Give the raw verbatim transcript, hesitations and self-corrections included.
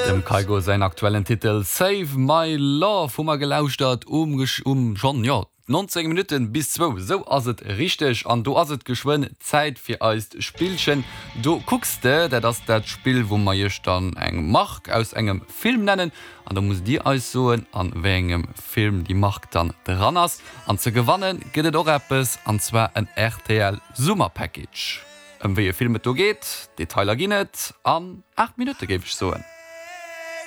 Dem Kygo säin aktuellen Titel Save My Love hu mer gelauschtert um um schonn, jo, neunzéng Minutten bis zwou, sou ass et richteg. An do ass et geschwënn Zäit fir eist Spillchen Do kucks de. Dat ass dat Spill, wou mer iech dann eng Mark aus engem Film nennen an da musst dir eis soen, an wéi engem Film déi Mark dann dran ass. An ze gewanne gëtt et och eppes, an zwar en R T L Summer Package. Ëm wéi e Film et do geet, Detailer ginn et an aacht Minutte, géif ech soen.